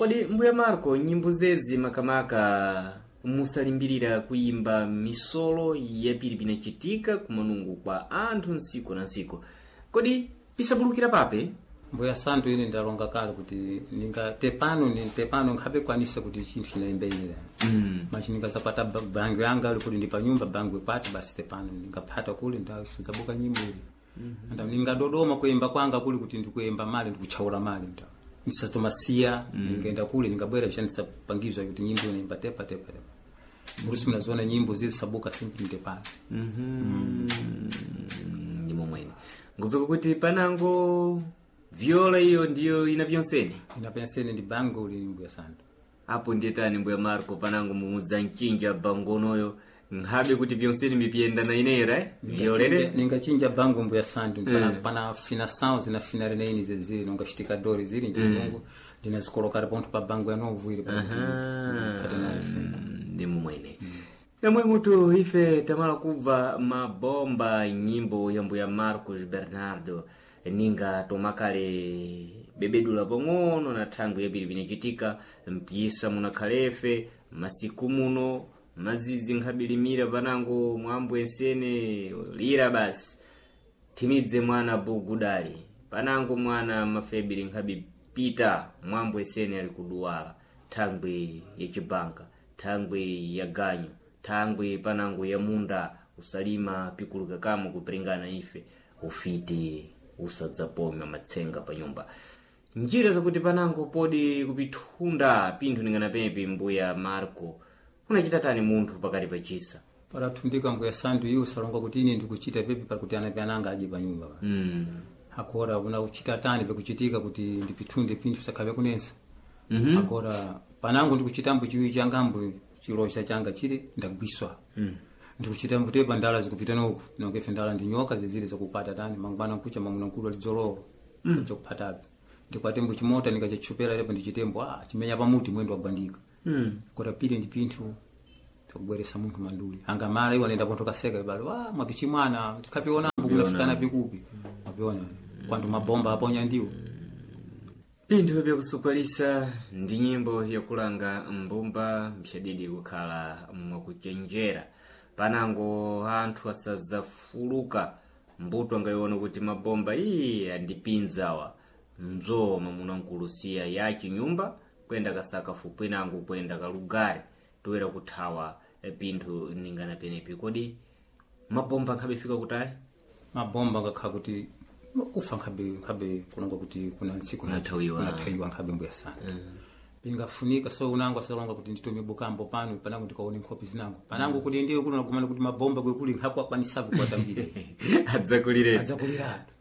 Kodi mbuya Marco, nyimbo zezi makamaka musalimbirira kuimba misolo yapiri pinachitika kumanungu kwa anthu nsiku na nsiku, kodi pisabulukira pape? Mbuya Santu, ine ndalonga kale kuti ninga tepano ni tepano nkhabe kwanisa kuti chinthu chinaimba ine. Machi ningazapata bango yanga ali kuti ndi panyumba bango ipati basi tepano ningaphata kuli ndasinzabuka nyimbo ili. Nda ningadodoma kuimba kwanga kuli kuti ndikuimba mali ndikuchaula mali nda nisatomasiya. Ningaenda kule ningabwera chanisapangizwa kuti nyimbo inaimba tepa tepa tepa murusi mnaziona nyimbo zili sabuka simply ndepano. Ndi momwene ngupeka kuti panango viola iyo ndiyo ina pyonsene. Inapensene ndi bango lili, mbuya Santu. Apo ndiyetani, mbuya Marco, panango mumudza mchinja bangonoyo nkhabe kuti pyonsene mipiyenda na inera violere. Ningachinja bango, mbuya Santu, pana, pana finação zina reneini zezili nongachitika dori zili nchizungu ndinazikolokara pontho pa bango ya novu ili pakuti pate nayo sempre. Ndi mumwene namwe mutu ife tamala kubva mabomba nyimbo ya mbuya Marcos Bernardo ninga tomakale bebedula pang'ono na thangwi yapiri pinachitika mpisa munakhalefe masiku muno mazizi nkhabilimira panango mwambo ensene lira basi thimidze mwana bugudali panango mwana mafebiri nkhabi pita mwambo esene ali kuduwala thangwi yacibanka, thangwi ya ganyu, thangwi panango ya munda usalima pikuluka kamo kupringana ife ufiti usadzapomya matsenga pa nyumba njira zakuti panango podi kupithunda pinthu ninganapepi. Mbuya Marco, unachita tani munthu pakati pachisa? Palathundika, mbuya Santu, iwo salonga kuti ine ndikuchita pepi pakuti anape ananga aje panyumba pa. Akora una kuchita tani pekuchitika kuti ndipithunde pinthu sakhabe kunensa. Akora panango ndikuchitambo chiwi changambo chilocha changa chili ndagwiswa. Ndikuchita mbutepa ndala zikupita noku nonge ndala ndi nyoka zizili zakupata tani mangwana nkucha mamuna nkulu alidzolowa mm. Chakuphatapi ndikwate mbu chimota nikachachupera lepo ndichitembo chimenya pamuti mwendo wagwandika. Kora pili ndi pinthu takubweresa munthu manduli angamala iwo anenda pontho kaseka ibalo wa mwapichimwana tikapionambo kunafikana pikupi mwapiona kwantu mabomba aponya ndiwo. Pinthu byakusukwalisa ndi nyimbo yakulanga mbumba mphyadidi kukhala mwakuchenjera panango anthu asadzafuluka mbuto angayiona kuti mabomba iyi andipinzawa mzo mamuna nkulusiya yachi nyumba kwenda kasaka fupwinango kwenda kalugare toera kuthawa pinthu ningana penepi. Kodi mabomba nkhabefika kutali? Mabomba ngakhala kuti kufa nkhabe nkhabe kulonga kuti kuna ntsiku Kunathawiwa. Kunathawiwa nkhabe, mbuya sana pingafunika so unango asalonga kuti nditume bukambo pano panango ndikaone nkhopi zinango panango kuti ndiye kuti unagumana kuti mabomba kwekuli nkhapo akwanisavu kuwatambire. Adzakulireni. Adzakuliratu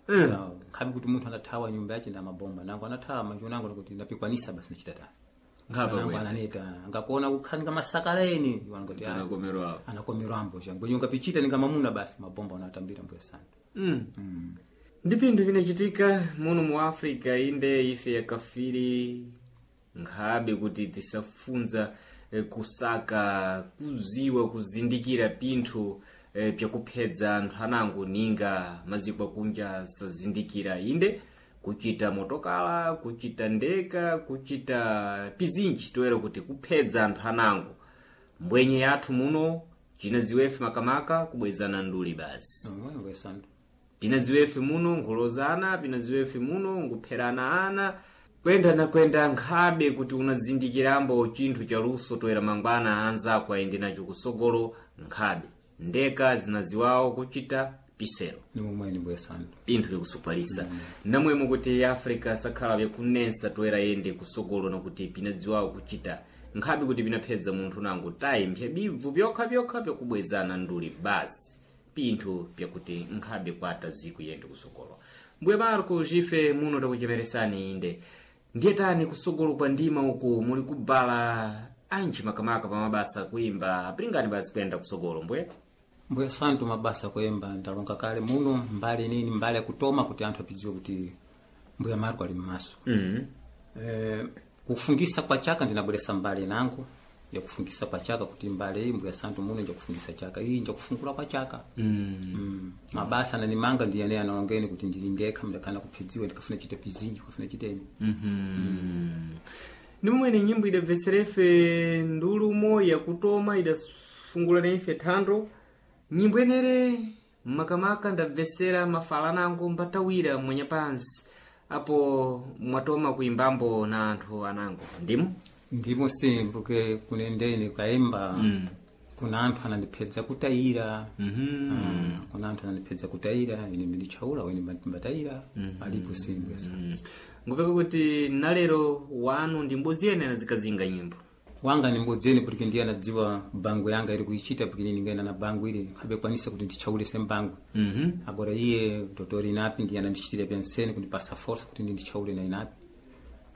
nkhabe kuti munthu anathawa nyumba yache nda mabomba nango anathawa manje unango kuti ndapikwanisa basi nachita tani. Nkhapa Nango kwene. ananeta ngakuona kukhanika masakaleni wangoti Anakomerwa apo. Anakomerwambo changwenye ungapichita ningamamuna basi mabomba unatambira, mbuya sana. Ndi pinthu vinachitika muno mu Africa inde ife yakafiri nkhabe kuti tisafunza kusaka kuziwa kuzindikira pinthu pyakuphedza anthu anango ninga maziko akunja sazindikira inde kuchita motokala, kuchita ndeka, kuchita pizinji toera kuti kuphedza anthu anango mbwenye yathu muno chinaziwefe makamaka kubwezana nduli basi. Mbuya sana. Pinaziwefe muno nkhulozana, pinaziwefe muno nkupherana ana kwenda na kwenda nkhabe kuti unazindikirambo chinthu cha luso toera mangwana anzako ayende nacho kusogolo nkhabe ndeka zinaziwawo kuchita pisero. Ni momweni, mbuya sana. Pinthu vyakusupalisa namwemo kuti Africa sakhala vyakunensa toera yende kusogolo nakuti pinadziwawo kuchita nkhabe kuti pinaphedza munthu nango tayi mphyabibvu byokha byakubwezana nduli basi pinthu byakuti nkhabe kwata ziku yende kusogolo. Mbuye Marco jife muno takuchemeresani inde ndiye tani kusogolo kwa ndima uku muli kubala anji makamaka pa mabasa kuimba apilingani basi kuyenda kusogolo, mbuye? Mbuya Santu, mabasa kuyemba ndalonga kale muno mbali nini mbali yakutoma kuti anthu apidziwe kuti mbuya Marco ali mmaso. Kufungisa kwa chaka ndinabweresa mbali nangu yakufungisa kwa chaka kuti mbali iyi mbuya Santu muno njakufungisa chaka iyi njakufungula kwa chaka. Mabasa ananimanga ndiyane analongeni kuti ndili ndekha mndakana kuphidziwa ndikafuna chite pizinji kafuna chiteni. Ndimwene nyimbo idabveserefe ndulumo yakutoma, idafungula naife thando. Nyimbo enere makamaka ndabvesera mafalanango mbatawira mwanyapansi apo mwatoma kuimbambo na anthu anango, ndimo? Ndimo sim, porque kunendeni kaimba kuna anthu anandipedza kutayira. Ah, kuna anthu anandipedza kutayira, ine nditchaula wene mbatayira alipo sim bwesa. Ngupeka kuti nalero wanu ndi mbodzi yene anazikazinga nyimbo. Wanga ni mbodzi yene porque ndiye anadziwa bango yanga iri kuichita, porque ine ndingaenda na bango ili nkhabe kwanisa kuti nditchaule sembango. Agora iye dotori inapi ndiye anandichitira penseni kundipasa força kuti ndi nditchaule na inapi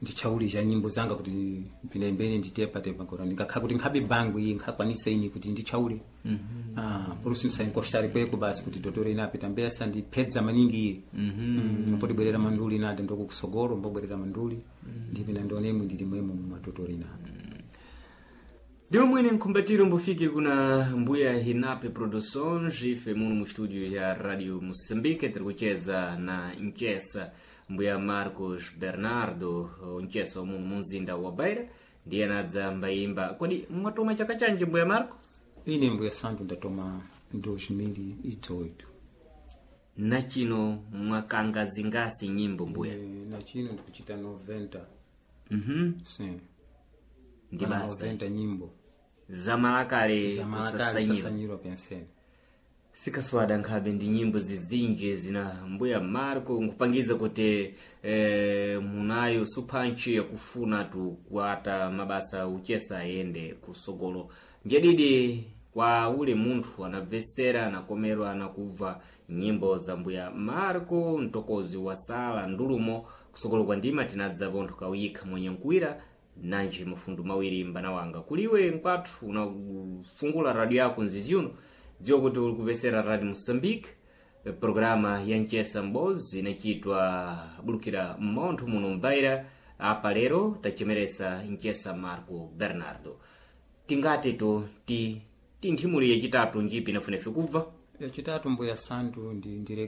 nditchaule za nyimbo zanga kuti mpinembeni nditepatepa. Agora ndingakhala kuti nkhabe bango iyi nkhakwanisa ini kuti nditchaule. Ah, por isso ndisayinkostari kweko basi kuti dotori inapi tambe asandipedza maningi iye. Mbodibwerera manduli nati ndokukusogolo mbobwerera manduli ndipina ndionemwe ndili mwemo mumadotori inapi. Ndiwo mwene nkhumbatiro mbufike kuna mbuya Hinape Produções, ife muno mu estúdio ya Radio Moçambique tiri kucheza na Nchesa mbuya Marcos Bernardo, Nchesa muno mu mzinda wa Beira, ndiye anadza mbayimba. Kodi mwatoma chaka chanji mbuya Marco? Ine mbuya Santo ndatoma 2018. Na chino mwakanga zingasi nyimbo mbuya? Na chino ndikuchita 90. Sim. Ndi Pana basa 90 nyimbo zamalakale zamalakale kusasanyiro. sasanyirwa penseni. Sikaswada nkhabe ndi nyimbo zizinji zina mbuya Marco nkupangiza kuti munayo suphanchi yakufuna tu kuata mabasa uchesa ayende kusogolo. Mbyadidi kwa ule munthu anabvesera, anakomerwa anakubva nyimbo za mbuya Marco mtokozi wa sala ndulumo kusogolo kwa ndima tinadza pontho kawikha mwenye nkuwira nanji mafundu mawiri mbana wanga kuliwe nkwathu unafungula radio yako nzizi uno, dziwa kuti uli kumvesera Radio Moçambique, programa ya Nchesa Mbozi inachitwa bulukira mmontho muno mbaira. Apa lero tachemeresa Nchesa Marco Bernardo. Tingati to ti tinthimuli yachitatu njipi inafunefe kubva? Yachitatu mbuya Santu ndi ndireke.